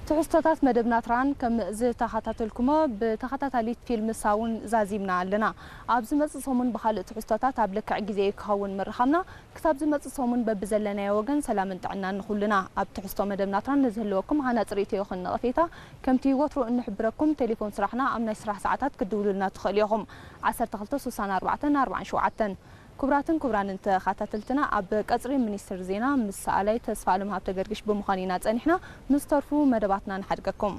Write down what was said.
ትሕዝቶታት መደብና ትራን ከም ዝተኸታተልኩሞ ብተኸታታሊት ፊልም ሳውን ዛዚምና ኣለና። ኣብ ዝመጽእ ሰሙን ብኻልእ ትሕዝቶታት ኣብ ልክዕ ግዜ ክኸውን ምርኻብና። ክሳብ ዝመጽእ ሰሙን በብዘለናዮ ወገን ሰላምን ጥዕናን ንኹልና። ኣብ ትሕዝቶ መደብና ትራን ንዝህልወኩም ሃናጺ ርእይቶ ይኹን ነቐፌታ ከምቲ ወትሩ እንሕብረኩም ቴሌፎን ስራሕና ኣብ ናይ ስራሕ ሰዓታት ክትድውሉልና ትኽእሉ ኢኹም። ዓሰርተ ክልተ ስሳን ኣርባዕተን ኣርባዓን ሸውዓተን። ክቡራትን ክቡራንን ተኸታተልትና ኣብ ቀጽሪ ሚኒስትር ዜና ምስ ሰኣላይ ተስፋ ኣለም ሃብተ ገርግሽ ብምዃን ኢና ጸኒሕና። ምስ ተርፉ መደባትና ንሓድገኩም።